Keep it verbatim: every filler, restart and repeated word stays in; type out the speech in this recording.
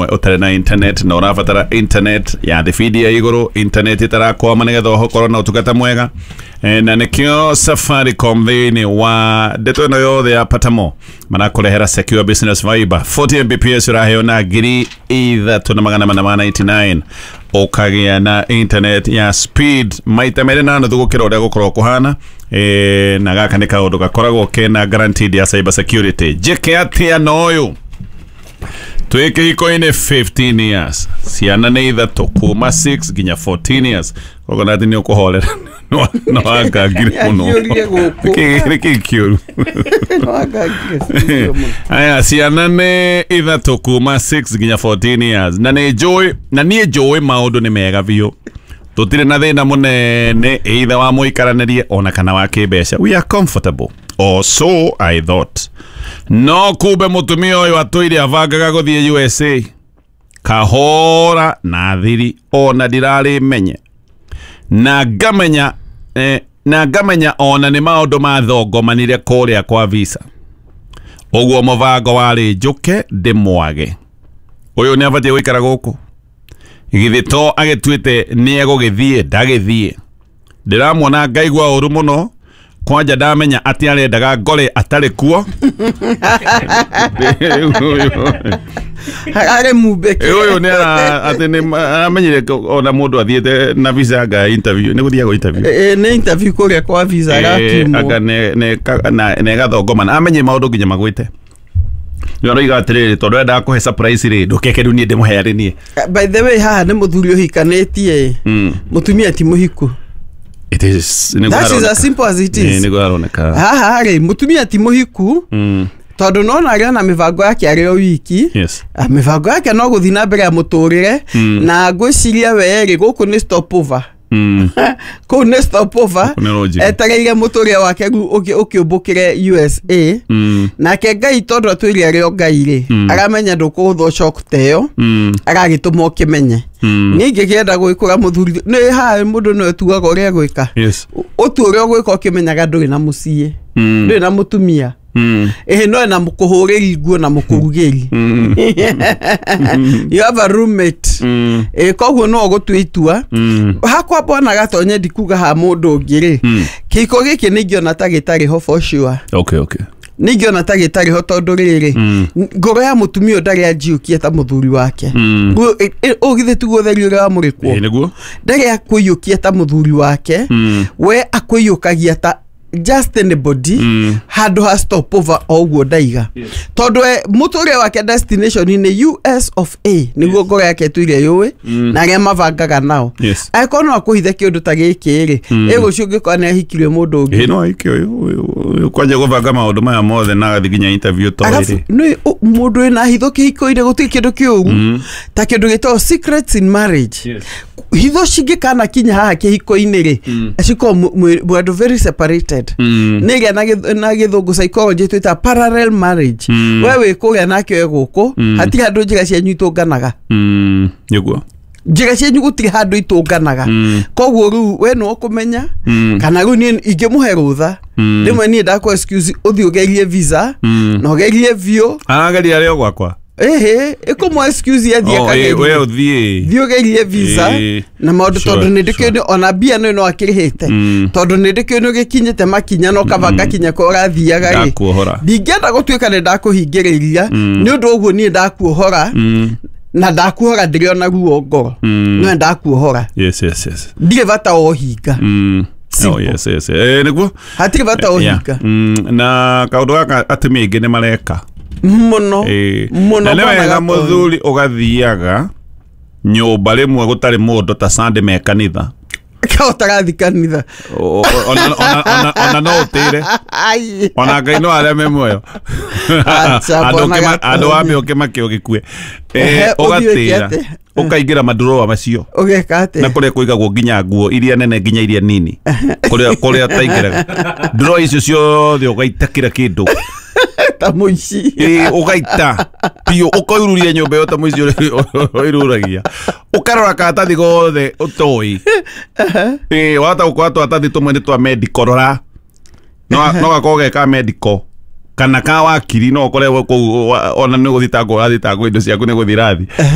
Ũtarĩ na internet na ũrabatara internet ya thibidi ya igũrũ, internet ĩtarakwama nĩgetha ũkorwo na ũtungata mwega. E, na nĩkĩo Safaricom thĩinĩ wa ndeto ĩno yothe ya Patamo marakũrehera Secure Business Fiber fourty Mbps ũraheo na ngiri ithatũ na magana mana ma ninety-nine, ũkagĩa na internet ya speed maita merĩ na nuthu gũkĩra ũrĩa gũkorwo kũhana. E, na gaka nĩ kaũndũ gakoragwo kena guaranteed ya cyber security. Njĩke atĩa na ũyũ? Twĩ kĩhiko-inĩ fifteen years, ciana nĩ ithatũ kuma six nginya fourteen years. Koguo nathi nĩ ũkũhorera no wangangire mũno. Nĩakĩũrire gũkũ. Nĩkĩ kĩũru? Nĩwangangire mũno. Aya, ciana nĩ ithatũ kuma six nginya fourteen years, na nĩ njũĩ, na niĩ njũĩ maũndũ nĩ mega biũ, tũtirĩ na thĩna mũnene either wa mũikaranĩrie ona kana wa kĩmbeca. We are comfortable, or so I thought. No kumbe mũtumia ũyũ atũire abangaga gũthiĩ U S A kahora na thiri, ona ndirarĩ menye na ngamenya, eh, na ngamenya ona nĩ maũndũ mathongomanire kũrĩa kwa visa. Ũguo mũbango warĩ njũke ndĩmwage. Ũyũ nĩ abatiĩ gũikara gũkũ? Githĩ to agĩtuĩte nĩ egũgĩthiĩ ndagĩthiĩ? Ndĩramuona ngaigua ũru mũno. Kwanja ndamenya atĩ arendaga ngore atarĩ kuo. Arĩ mumbeke. Ũyũ nĩ ara atĩ nĩ aramenyire ona mũndũ athiĩte na visa anga interview, nĩ gũthiagwo interview. Ĩ, nĩ interview kũrĩa kwa visa Eh, arakiumwo. Anga nĩ nĩ na nĩ gathongomana amenye maũndũ nginya magwĩte. Nĩ aroiga atĩrĩrĩ, tondũ endaga kũhe surprise rĩ, ndũkeke rĩu niĩ ndĩmũhe arĩ niĩ. By the way, haha nĩ mũthuri ũhikanĩtie, Mm. mũtumia ti mũhiku. It is nĩguo That is haroneka. as simple as it Ĩ, is. nĩguo haroneka. Haha rĩ, mũtumia ti mũhiku, Mm. tondũ nona arĩ ona mĩbango yake arĩ o wiki. Yes. Ah, mĩbango yake no gũthiĩ na mbere ya mũtũrĩre, Mm. na ngwĩciria we rĩ, gũkũ nĩ stopover. Mm. Kũu nĩ stopover. Gũkũ nĩ lodging. Etereire mũtũrĩre wake rĩu ũkĩ- ũkĩũmbũkĩre U S A. Mm. Nake Ngai, tondũ atwĩre arĩ o Ngai rĩ, Mm. aramenya ndũkũgũthwo shock ta ĩyo, Mm. aragĩtũma ũkĩmenye. Mm. Niĩ ingĩkĩenda gwĩkũra mũthuri nĩ haha, mũndũ no etuaga ũrĩa egwĩka. Yes. Ũtue ũrĩa ũgwĩka ũkĩmenyaga ndũrĩ na mũciĩ, Mm. ndũrĩ na mũtumia. Mm. Ĩhĩ, no ena mũkũhũrĩri nguo na mũkũrugĩri. Mm. You have a roommate. Mm. Ĩ, koguo no ũgũtua itua. Mm. Hakwa mbona gatonye ndikuga ha mũndũ ũngĩ rĩ, Mm. kĩhiko gĩkĩ nĩ ingĩona ta gĩtarĩ ho for sure. Okay, okay. Nĩ ingĩona ta gĩtarĩ ho tondũ rĩrĩ, Mm. ngoro ya mũtumia ũyũ ndarĩ anjiũkie ta mũthuri wake. Mm. Ũũ githĩ tiguo ũtheri ũrĩa wamũrĩkwo? Ĩ, nĩguo. Ndarĩ akũiyũkia ta mũthuri wake. Mm. We akũiyũkagia ta just anybody, Mm. handũ ha stopover o ũguo ndaiga, tondũ we mũtũrĩre wake destination nĩ U S of A, nĩguo ngoro yake ĩtũire yũĩ Mm. na arĩa mabangaga nao. Yes. Angĩkorwo no akũhithe kĩũndũ ta gĩkĩ rĩ, Mm. ĩ rũciũ ũngĩkorwo nĩ ahikirie mũndũ ũngĩ? Ĩ, no aike ũyũ ũyũ kwanja gũbanga maũndũ maya mothe na agathiĩ nginya interview to Arabu ĩrĩ. nĩ ũ- mũndũ wĩna hitho kĩhiko-inĩ, gũtirĩ kĩndũ kĩũru Mm. ta kĩndũ gĩtagwo secrets in marriage. Yes. Hitho cingĩkana kinya haha kĩhiko-inĩ rĩ, Mm. cikorwo mwĩ andũ very separated. Mm. Nĩ ĩrĩa na gĩth- na gĩthũngũ psychology twĩta parallel marriage. Mm. We wĩ kũrĩa nake we gũkũ, Mm. hatirĩ handũ njĩra cianyu itũnganaga. Mm. Nĩguo. Njĩra cianyu gũtirĩ handũ itũnganaga. Mm. Koguo rĩu we no ũkũmenya, Mm. kana rĩu niĩ ingĩmũhe rũtha Mm. rĩmwe, niĩ ndakũ excuse ũthiĩ ũgerie visa, Mm. na ũgerie biũ. Arageria arĩ o gwakwa. Ĩhĩ, ĩkũmũ excuse athiĩ Oh, ĩ, akagerie. we ũthiĩ. Thiĩ ũgerie visa Ĩ, na maũndũ, sure, tondũ nĩ ndĩkĩũĩ ona mbia no no akĩrĩhĩte, Mm. tondũ nĩ ndĩkĩũĩ nĩ ũgĩkinyĩte makinya na ũkabanga kinya kũrĩa ũrathiaga rĩ. Ndakuohora. Ndingĩenda gũtuĩka nĩ ndakũhingĩrĩria. Mm. Nĩ ũndũ ũguo niĩ ndakuohora, Mm. na ndakuohora ndĩrĩ ona ruo ngoro. Mm. No ndakuohora. Yes, yes, yes. Ndirĩ bata wa ũhinga. Mm. Oh, Simple. yes, yes. Eh, nĩguo. Hatirĩ bata wa Yeah. ũhinga. Mm, na kaũndũ gaka atumia aingĩ nĩ mareka. Mũno. Ĩ. Mũno. Na nĩ Bwana wega Gatonyo. mũthuri ũgathiaga nyũmba rĩmwe gũtarĩ mũndũ ta Sunday me kanitha. Ka ũtarathi kanitha. O- o- ona ona- ona- ona no ũtĩre. Ai. Ona Ngai no arĩa me muoyo. Acha, Andũ Bwana ũkĩma- Gatonyo. andũ wambe ũkĩmake ũgĩkue. Ehe, Eh, ũthiĩ wĩke ũgatĩra atĩa? ũkaingĩra madroa macio Ũgeka na atĩa? kũrĩa kũigagwo nginya nguo iria nene nginya iria nini, kũrĩa kũrĩa ũtaingĩraga drawer icio ciothe, ũgaita kĩra kĩndũ. Ta mũici. Ĩ, ũgaita biũ, ũkoiruria nyũmba ĩyo ta mũici ũrĩa ũiruragia, ũkarora karatathi gothe ũtoĩ. Ĩ, wahota gũkora tũratathi tũmwe nĩ twa medical, rora no no gakorwo ge ka medical. Kana ka wakiri no ũkore kũu wa- ona nĩ gũthitangwo ũrathitangwo, indo ciaku nĩ gũthirathi.